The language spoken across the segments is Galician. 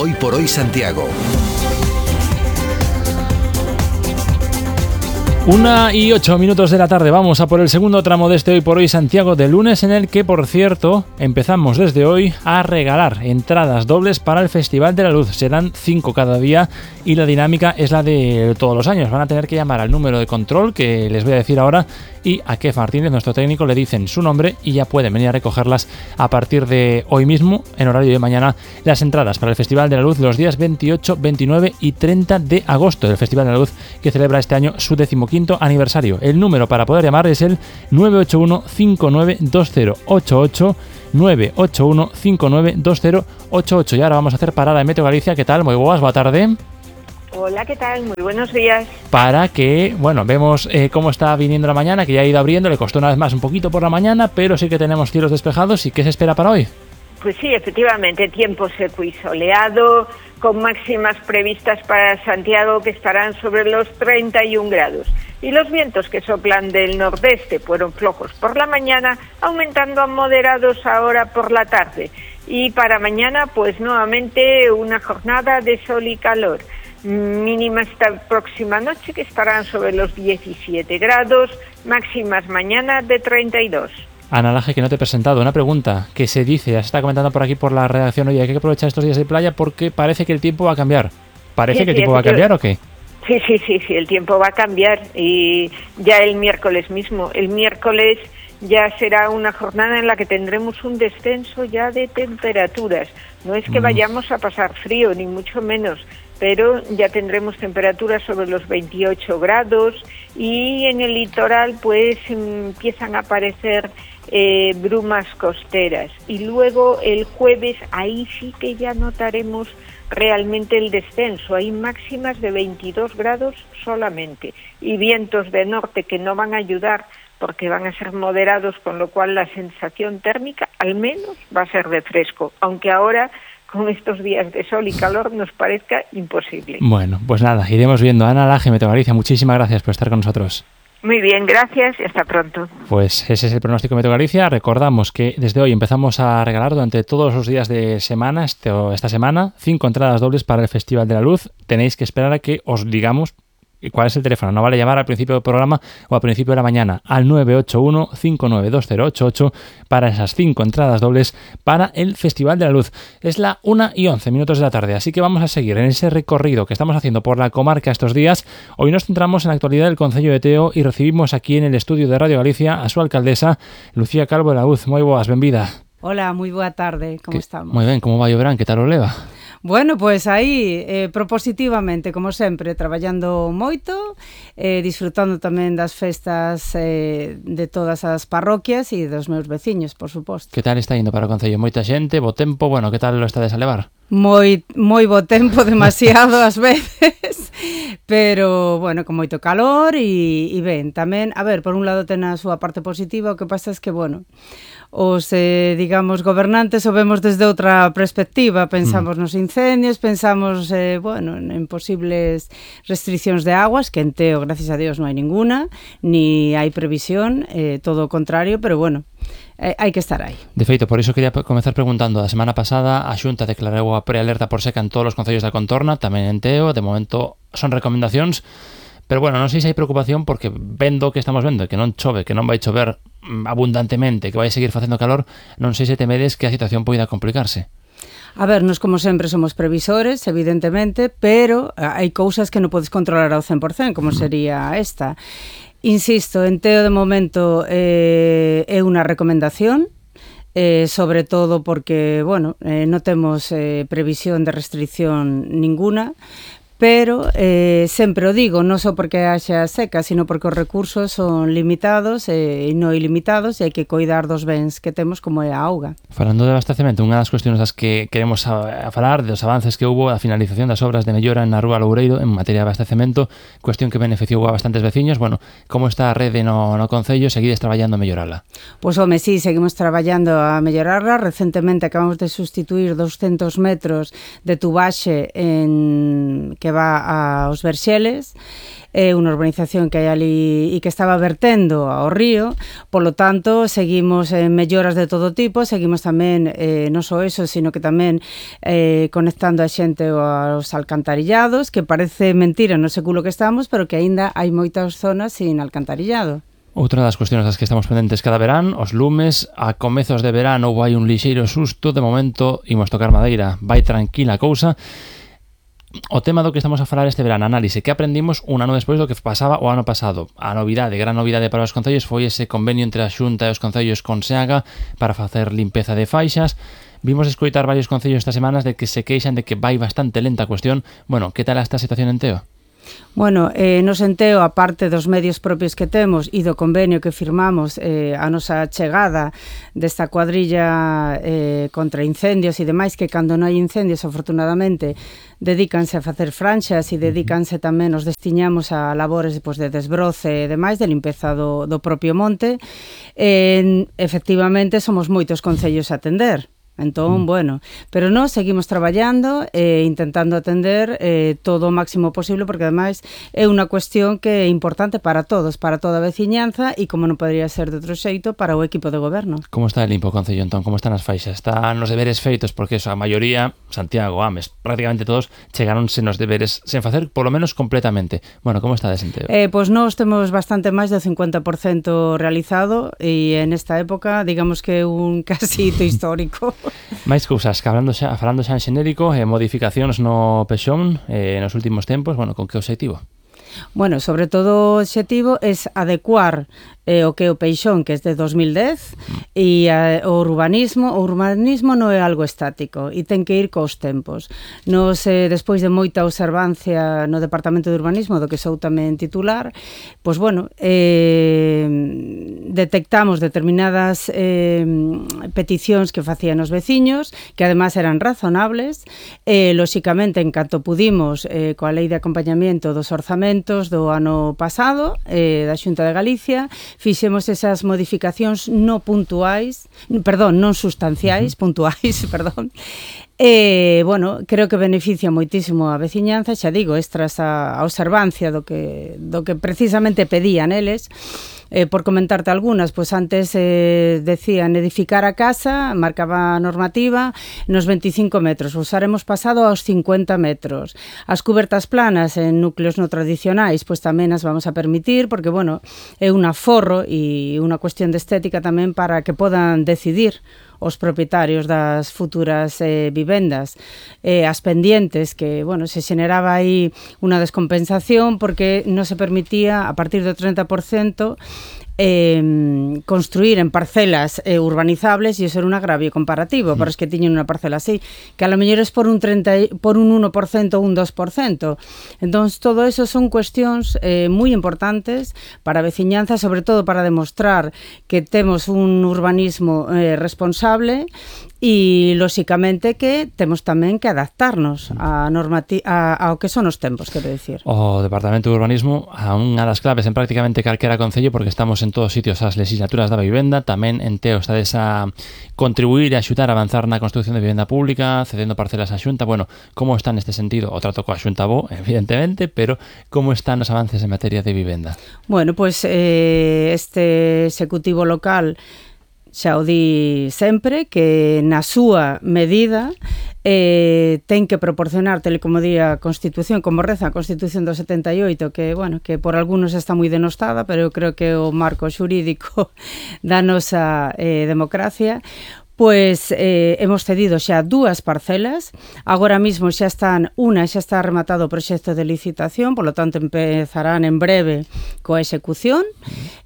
Hoy por Hoy Santiago. 1:08 de la tarde. Vamos a por el segundo tramo de este Hoy por Hoy Santiago de lunes, en el que, por cierto, empezamos desde hoy a regalar entradas dobles para el Festival de la Luz. Serán 5 cada día y la dinámica es la de todos los años. Van a tener que llamar al número de control que les voy a decir ahora, y a Kef Martínez, nuestro técnico, le dicen su nombre y ya pueden venir a recogerlas a partir de hoy mismo, en horario de mañana, las entradas para el Festival de la Luz los días 28, 29 y 30 de agosto del Festival de la Luz, que celebra este año su 15º aniversario. El número para poder llamar es el 981-592088, 981-592088. Y ahora vamos a hacer parada en Meteo Galicia. ¿Qué tal? Muy buenas tarde. Hola, ¿qué tal? Muy buenos días. Para que, vemos cómo está viniendo la mañana, que ya ha ido abriendo, le costó una vez más un poquito por la mañana, pero sí que tenemos cielos despejados. ¿Y qué se espera para hoy? Pues sí, efectivamente, tiempo seco y soleado, con máximas previstas para Santiago que estarán sobre los 31 grados. Y los vientos que soplan del nordeste fueron flojos por la mañana, aumentando a moderados ahora por la tarde. Y para mañana, pues nuevamente una jornada de sol y calor. Mínima esta próxima noche que estarán sobre los 17 grados, máximas mañana de 32. Ana Laje, que no te he presentado, una pregunta que se dice, ya se está comentando por aquí por la redacción, oye, hay que aprovechar estos días de playa porque parece que el tiempo va a cambiar. ¿Parece que el tiempo va a cambiar o qué? Sí, el tiempo va a cambiar y ya el miércoles mismo. El miércoles ya será una jornada en la que tendremos un descenso ya de temperaturas. No es que vayamos a pasar frío, ni mucho menos, pero ya tendremos temperaturas sobre los 28 grados y en el litoral pues empiezan a aparecer brumas costeras. Y luego el jueves ahí sí que ya notaremos realmente el descenso. Hay máximas de 22 grados solamente y vientos de norte que no van a ayudar porque van a ser moderados, con lo cual la sensación térmica al menos va a ser de fresco, aunque ahora con estos días de sol y calor nos parezca imposible. Bueno, pues nada, iremos viendo. Ana Laje, Meteo Galicia, muchísimas gracias por estar con nosotros. Muy bien, gracias y hasta pronto. Pues ese es el pronóstico Meteo Galicia. Recordamos que desde hoy empezamos a regalar durante todos los días de semana, esta semana, 5 entradas dobles para el Festival de la Luz. Tenéis que esperar a que os digamos cuál es el teléfono. No vale llamar al principio del programa o al principio de la mañana, al 981-592088 para esas 5 entradas dobles para el Festival de la Luz. Es la 1:11 de la tarde, así que vamos a seguir en ese recorrido que estamos haciendo por la comarca estos días. Hoy nos centramos en la actualidad del concello de Teo y recibimos aquí en el estudio de Radio Galicia a su alcaldesa, Lucía Calvo de la Luz. Moi boas, benvida. Hola, moi boa tarde, como estamos? Moi ben, como vai o verán, que tal o leva? Bueno, pues aí, propositivamente, como sempre, traballando moito, disfrutando tamén das festas de todas as parroquias e dos meus veciños, por suposto. Que tal está indo para o concello? Moita xente, bo tempo, que tal lo estades a levar? Moi bo tempo, demasiado ás veces, pero, con moito calor e ben, tamén, a ver, por un lado ten a súa parte positiva, o que pasa é que, os, gobernantes o vemos desde outra perspectiva, pensamos nos incendios, pensamos, en posibles restriccións de aguas, que en Teo, gracias a Dios, non hai ninguna, ni hai previsión, todo o contrario, pero hai que estar aí. De feito, por iso quería comezar preguntando. A semana pasada a Xunta declarou a prealerta por seca en todos os concellos da contorna, tamén en Teo, de momento son recomendacións, pero non sei se hai preocupación porque vendo que estamos vendo, que non chove, que non vai chover abundantemente, que vai seguir facendo calor, non sei se temedes que a situación poida complicarse. A ver, nos como sempre somos previsores, evidentemente, pero hai cousas que non podes controlar ao 100%, como sería esta. Insisto, en Teo de momento é unha recomendación, sobre todo porque, non temos previsión de restricción ninguna, pero sempre o digo, non só porque haxa seca, sino porque os recursos son limitados e non ilimitados e hai que coidar dos bens que temos como é a auga. Falando de abastecemento, unha das cuestións das que queremos a falar, dos avances que houbo, a finalización das obras de mellora na Rúa Loureiro en materia de abastecemento, cuestión que beneficiou a bastantes veciños. Como está a rede no Concello? Seguides traballando a mellorala? Pois, sí, seguimos traballando a mellorarla. Recentemente acabamos de sustituir 200 metros de tubaxe que que va aos Verxeles, é unha urbanización que hai ali e que estaba vertendo ao río, polo tanto, seguimos en melloras de todo tipo, seguimos tamén, non só eso, sino que tamén conectando a xente aos alcantarillados, que parece mentira no século que estamos, pero que aínda hai moitas zonas sin alcantarillado. Outra das cuestións das que estamos pendentes cada verán, os lumes. A comezos de verán houve hai un lixeiro susto, de momento imos tocar madeira, vai tranquila a cousa. O tema do que estamos a falar este verán, análise, que aprendimos un ano despois do que pasaba o ano pasado. A novidade, gran novidade para os concellos foi ese convenio entre a Xunta e os concellos con SEAGA para facer limpeza de faixas. Vimos escoitar varios concellos estas semanas de que se queixan de que vai bastante lenta a cuestión. Bueno, que tal esta situación en Teo? Bueno, nos en Teo, a parte dos medios propios que temos e do convenio que firmamos, a nosa chegada desta cuadrilla contra incendios e demais, que cando non hai incendios, afortunadamente, dedícanse a facer franxas e dedícanse tamén, nos destiñamos a labores de desbroce e demais, de limpeza do propio monte. Efectivamente, somos moitos concellos a atender. Entón, bueno, pero nós seguimos traballando e intentando atender todo o máximo posible, porque ademais é unha cuestión que é importante para todos, para toda a veciñanza e, como non podría ser de outro xeito, para o equipo de goberno. Como está limpo o concello, entón? Como están as faixas? Están os deberes feitos? Porque eso, a maioría, Santiago, Ames, prácticamente todos chegaronse nos deberes sen facer, polo menos completamente. Bueno, como está de Senteo? Pois nós temos bastante máis do 50% realizado e en esta época, digamos que un casi hito histórico. Máis cousas, que falando xa en xenérico, modificacións no Pexón nos últimos tempos, bueno, con que objetivo? Bueno, sobre todo o objetivo é adecuar o que é o Peixón, que é de 2010, e o urbanismo non é algo estático e ten que ir cos tempos. Nos, despois de moita observancia no Departamento de Urbanismo, do que sou tamén titular, pois bueno, detectamos determinadas peticións que facían os veciños, que además eran razonables, lóxicamente, en canto pudimos, coa lei de acompañamiento dos orzamentos do ano pasado, da Xunta de Galicia, fixemos esas modificacións non sustanciais, puntuais, perdón. Bueno, creo que beneficia moitísimo a veciñanza, xa digo, extras a observancia do que precisamente pedían eles. Por comentarte algunas, pois antes decían edificar a casa, marcaba a normativa nos 25 metros, usaremos pasado aos 50 metros. As cubertas planas en núcleos non tradicionais, pois tamén as vamos a permitir, porque, bueno, é un aforro e unha cuestión de estética tamén para que podan decidir os propietarios das futuras vivendas, as pendientes, que, bueno, se xeneraba aí unha descompensación porque non se permitía, a partir do 30%, construir en parcelas urbanizables, e iso era un agravio comparativo para os que tiñen unha parcela así, que a lo mellor é por un 1% ou un 2%. Entón, todo eso son cuestións moi importantes para a veciñanza, sobre todo para demostrar que temos un urbanismo responsable e, lóxicamente, que temos tamén que adaptarnos ao que son os tempos, quero dicir. O Departamento de Urbanismo, a unha das claves en prácticamente calquera concello, porque estamos en todos sitios as legislaturas da vivenda, tamén en Teo estades a contribuir e axudar a avanzar na construcción de vivenda pública, cedendo parcelas á Xunta. Bueno, como está neste sentido? O trato coa Xunta bo, evidentemente, pero como están os avances en materia de vivenda? Bueno, pois este executivo local xa o di sempre, que na súa medida ten que proporcionar, tal como di a Constitución, como reza a Constitución do 78, que, bueno, que por algunos está moi denostada, pero eu creo que o marco xurídico da nosa democracia. Pois hemos cedido xa 2 parcelas, agora mismo xa está rematado o proxecto de licitación, polo tanto empezarán en breve coa execución,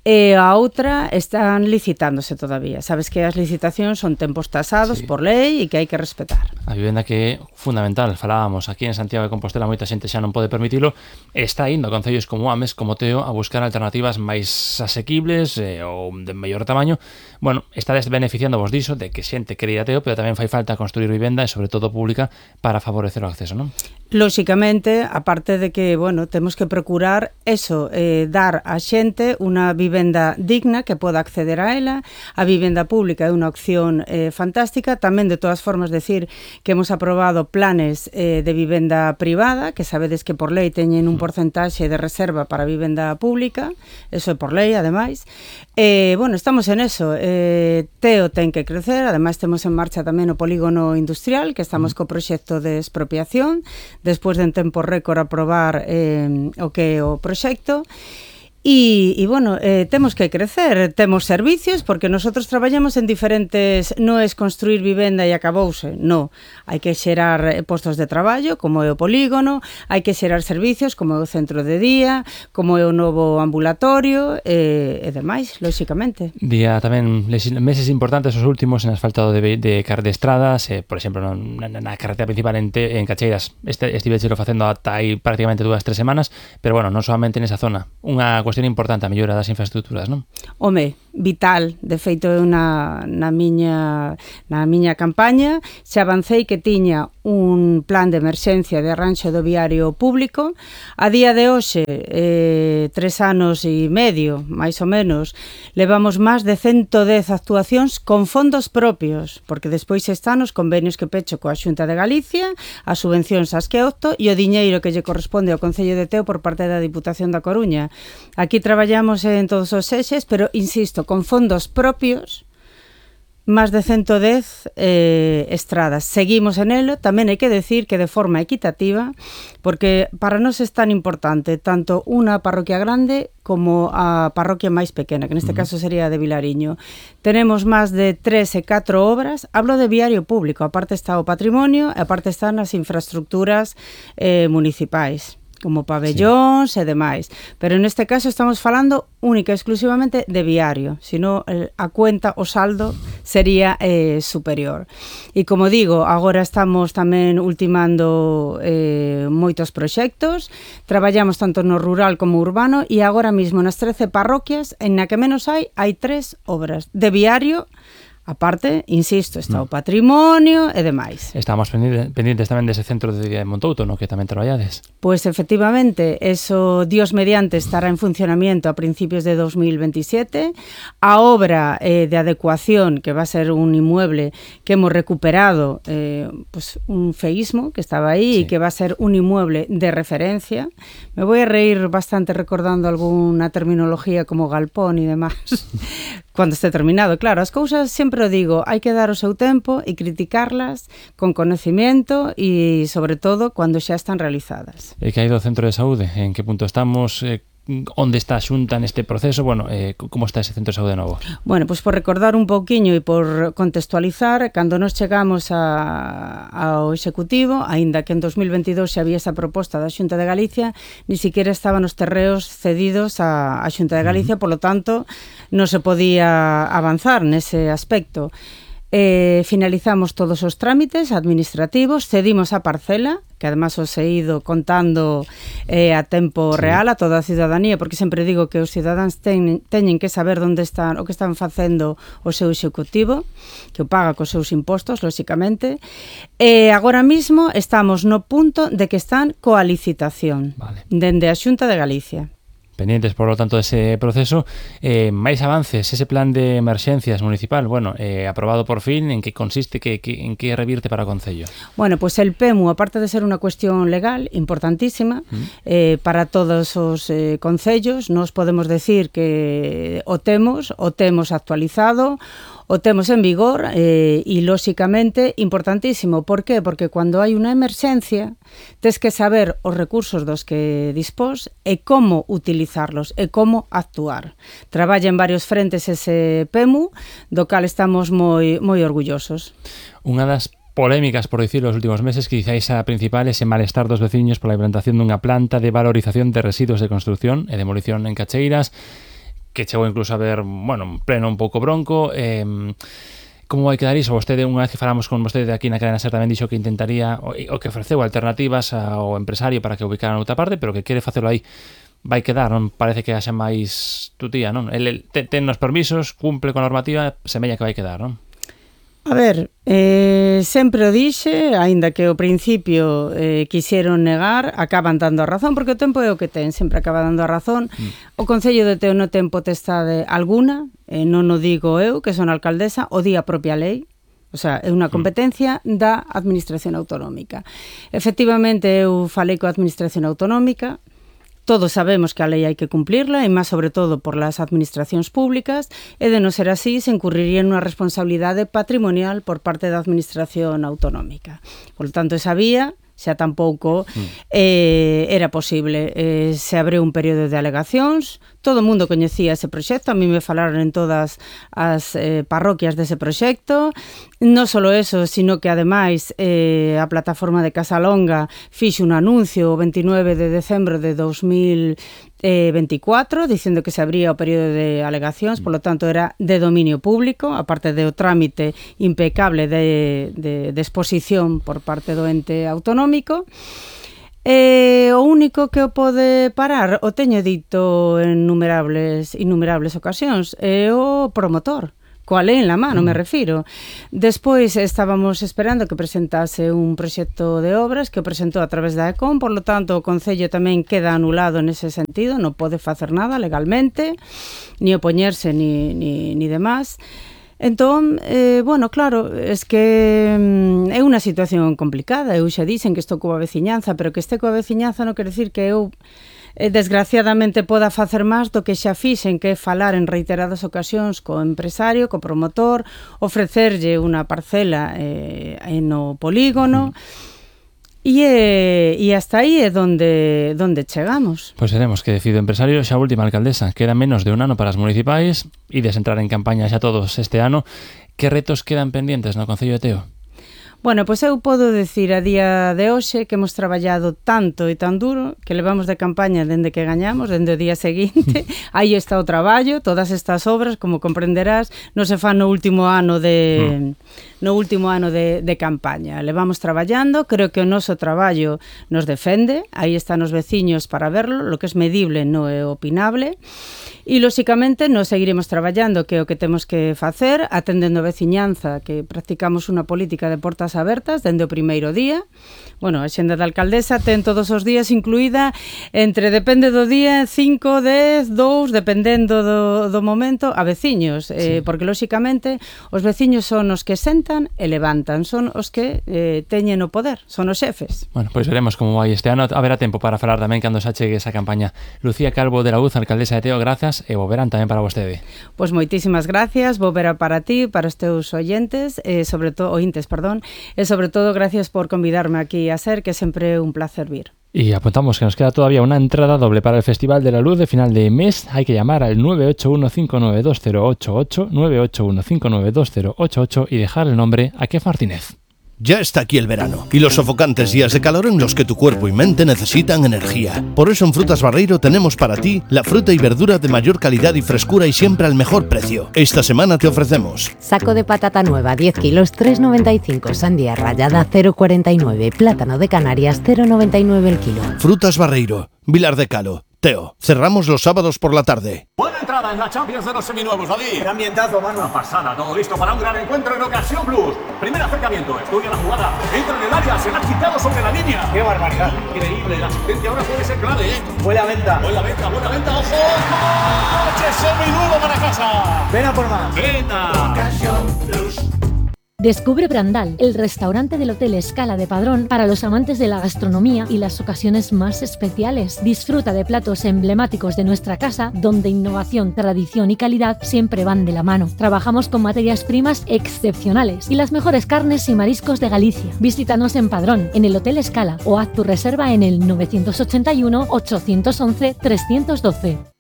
e a outra están licitándose todavía. Sabes que as licitacións son tempos tasados por lei e que hai que respetar. A vivenda que é fundamental, falábamos aquí en Santiago de Compostela, moita xente xa non pode permitilo, está indo a concellos como Ames, como Teo, a buscar alternativas máis asequibles ou de mellor tamaño. Bueno, estades beneficiando vos diso, de que xente quere ir a Teo, pero tamén fai falta construir vivenda e sobre todo pública para favorecer o acceso, non? Lóxicamente, aparte de que, bueno, temos que procurar eso, dar a xente unha vivenda vivenda digna que poda acceder a ela. A vivenda pública é unha opción fantástica. Tamén, de todas formas, decir que hemos aprobado planes de vivenda privada, que sabedes que por lei teñen un porcentaxe de reserva para a vivenda pública, eso é por lei, ademais. Bueno, estamos en eso. Teo ten que crecer, ademais temos en marcha tamén o polígono industrial, que estamos co proxecto de expropiación, despois de en tempo récord aprobar o que é o proxecto. E bueno, temos que crecer, temos servicios, porque nosotros traballamos en diferentes, non é construir vivenda e acabouse, non. Hai que xerar postos de traballo, como é o polígono, hai que xerar servicios, como é o centro de día, como é o novo ambulatorio, e demais, lóxicamente. Día tamén meses importantes os últimos en asfaltado de estradas, por exemplo, na carretera principal en Cacheiras, estivechelo facendo ata aí prácticamente 2-3 semanas, pero bueno, non solamente nesa zona, unha cuestión importante a mellora das infraestructuras, non? Home, vital. De feito, eu na miña campaña xa avancei que tiña un plan de emerxencia de arranxo do viario público. A día de hoxe, 3 anos e medio, máis ou menos, levamos máis de 110 actuacións con fondos propios, porque despois están os convenios que pecho coa Xunta de Galicia, as subvencións ás que opto e o diñeiro que lle corresponde ao Concello de Teo por parte da Diputación da Coruña. Aquí traballamos en todos os eixes, pero, insisto, con fondos propios, máis de 110 estradas. Seguimos en elo, tamén hai que decir que de forma equitativa, porque para nós é tan importante tanto unha parroquia grande como a parroquia máis pequena, que neste caso sería a de Vilariño. Tenemos máis de 3 e 4 obras, hablo de viario público, aparte está o patrimonio e aparte están as infraestructuras municipais, como pabellóns e demais. Pero neste caso estamos falando única e exclusivamente de viario, senón a cuenta, o saldo sería superior. E como digo, agora estamos tamén ultimando moitos proxectos, traballamos tanto no rural como urbano e agora mesmo nas 13 parroquias en na que menos hai 3 obras de viario. Aparte, insisto, está o patrimonio e demais. Estamos pendientes tamén dese centro de día de Montouto, no que tamén traballades. Pois efectivamente, eso, Dios mediante, estará en funcionamiento a principios de 2027. A obra de adecuación, que va a ser un inmueble que hemos recuperado, pues un feísmo que estaba aí, e que va a ser un inmueble de referencia. Me voy a reír bastante recordando alguna terminología como galpón e demás. Cuando esté terminado, claro, as cousas sempre o digo, hai que dar o seu tempo e criticarlas con conocimiento e, sobre todo, cando xa están realizadas. E que hai do centro de saúde? En que punto estamos? Onde está a Xunta neste proceso? Bueno, como está ese centro de saúde novo? Bueno, pois por recordar un pouquiño e por contextualizar, cando nos chegamos ao Executivo, aínda que en 2022 xa había esa proposta da Xunta de Galicia, ni siquiera estaban os terreos cedidos á Xunta de Galicia, polo tanto, non se podía avanzar nese aspecto. Finalizamos todos os trámites administrativos, cedimos a parcela, que además os he ido contando a tempo real a toda a ciudadanía, porque sempre digo que os cidadáns teñen que saber onde están, o que están facendo o seu executivo, que o paga cos seus impostos, lóxicamente. Agora mismo estamos no punto de que están coa licitación, dende a Xunta de Galicia. Pendientes, por lo tanto, dese proceso. Máis avances, ese plan de emerxencias municipal, bueno, aprobado por fin, en que consiste, en que revirte para o Concello? Bueno, pues el PEMU, aparte de ser unha cuestión legal importantísima para todos os concellos, nos podemos decir que o temos actualizado, o temos en vigor e, lóxicamente, importantísimo. Por qué? Porque cando hai unha emerxencia, tes que saber os recursos dos que dispós e como utilizarlos e como actuar. Traballa en varios frentes ese PEMU, do cal estamos moi orgullosos. Unha das polémicas, por dicirlo, os últimos meses, que quizáis a principal ese malestar dos veciños pola implantación dunha planta de valorización de residuos de construcción e demolición en Cacheiras, que chegou incluso a ver, bueno, un pleno un pouco bronco. Como vai quedar iso? Vostede, unha vez que falamos con vostede aquí na cadena SER, tamén dixo que intentaría, o que ofreceu alternativas ao empresario para que o ubicaran noutra parte, pero que quere facelo aí. Vai quedar, non parece que haxa máis tutía, non? El ten os permisos, cumple con a normativa, semella que vai quedar, non? A ver, sempre o dixe, aínda que ao principio quixeron negar, acaban dando a razón, porque o tempo é o que ten, sempre acaba dando a razón. O Concello de Teo non ten potestade alguna, non o digo eu, que son alcaldesa, o di a propia lei, o sea, é unha competencia da Administración Autonómica. Efectivamente, eu falei coa Administración Autonómica. Todos sabemos que a lei hai que cumplirla, e máis sobre todo por las administracións públicas, e de non ser así, se incurriría nunha responsabilidade patrimonial por parte da Administración Autonómica. Por lo tanto, esa vía xa tampouco era posible. Se abriu un período de alegacións, todo o mundo coñecía ese proxecto, a mí me falaron en todas as parroquias dese proxecto. Non só eso, sino que ademais a plataforma de Casalonga fixe un anuncio o 29 de decembro de 2024 dicindo que se abría o período de alegacións, polo tanto era de dominio público, aparte do trámite impecable de exposición por parte do ente autonómico. O único que o pode parar, o teño dito en innumerables ocasións, é o promotor. Coa lei en la mano, me refiro. Despois estábamos esperando que presentase un proxecto de obras que o presentou a través da ECOM, por lo tanto o Concello tamén queda anulado nese sentido, non pode facer nada legalmente, ni opoñerse ni demás. Entón, bueno, claro, es que é unha situación complicada. Eu xa dixen que estou coa veciñanza, pero que este coa veciñanza non quere decir que eu desgraciadamente poda facer máis do que xa fixen, que é falar en reiteradas ocasións co empresario, co promotor, ofrecerlle unha parcela no polígono, e hasta aí é donde chegamos. Pois veremos que decide o empresario. Xa última, alcaldesa, queda menos de un ano para as municipais, ides entrar en campaña xa todos este ano. Que retos quedan pendientes no Concello de Teo? Bueno, pois eu podo decir a día de hoxe que hemos traballado tanto e tan duro que levamos de campaña dende que gañamos, dende o día seguinte. Aí está o traballo, todas estas obras, como comprenderás, non se fan no último ano de campaña. Levamos traballando, creo que o noso traballo nos defende, aí están os veciños para verlo, lo que é medible non é opinable. E, lóxicamente, nos seguiremos traballando, que é o que temos que facer, atendendo a veciñanza, que practicamos unha política de portas abertas dende o primeiro día. Bueno, a xenda da alcaldesa ten todos os días incluída depende do día, 5, 10, 2, dependendo do momento, a veciños, porque, lóxicamente, os veciños son os que sentan e levantan, son os que teñen o poder, son os xefes. Bueno, pois veremos como vai este ano. Haberá tempo para falar tamén cando se achegue esa campaña. Lucía Calvo de la Luz, alcaldesa de Teo, grazas, e bo verán tamén para vostede. Pois moitísimas gracias, bo verán para ti, para os teus ointes, e sobre todo gracias por convidarme aquí a ser, que sempre é un placer vir. Y apuntamos que nos queda todavía una entrada doble para el Festival de la Luz de final de mes. Hay que llamar al 981592088, 981592088 y dejar el nombre a Kef Martínez. Ya está aquí el verano y los sofocantes días de calor en los que tu cuerpo y mente necesitan energía. Por eso en Frutas Barreiro tenemos para ti la fruta y verdura de mayor calidad y frescura y siempre al mejor precio. Esta semana te ofrecemos saco de patata nueva 10 kilos 3,95, sandía rallada 0,49, plátano de Canarias 0,99 el kilo. Frutas Barreiro, Vilar de Calo, Teo. Cerramos los sábados por la tarde. Buena entrada en la Champions de los seminuevos, David. Qué ambientazo, mano. Una pasada, todo listo para un gran encuentro en Ocasión Plus. Primer acercamiento, estudia la jugada, entra en el área, se la ha quitado sobre la línea. Qué barbaridad. Increíble, la asistencia ahora puede ser clave, ¿eh? Buena venta. Buena venta, ojo. ¡Coche seminuevo para casa! Ven a por más. Venga. Ocasión Plus. Descubre Brandal, el restaurante del Hotel Escala de Padrón para los amantes de la gastronomía y las ocasiones más especiales. Disfruta de platos emblemáticos de nuestra casa, donde innovación, tradición y calidad siempre van de la mano. Trabajamos con materias primas excepcionales y las mejores carnes y mariscos de Galicia. Visítanos en Padrón, en el Hotel Escala, o haz tu reserva en el 981 811 312.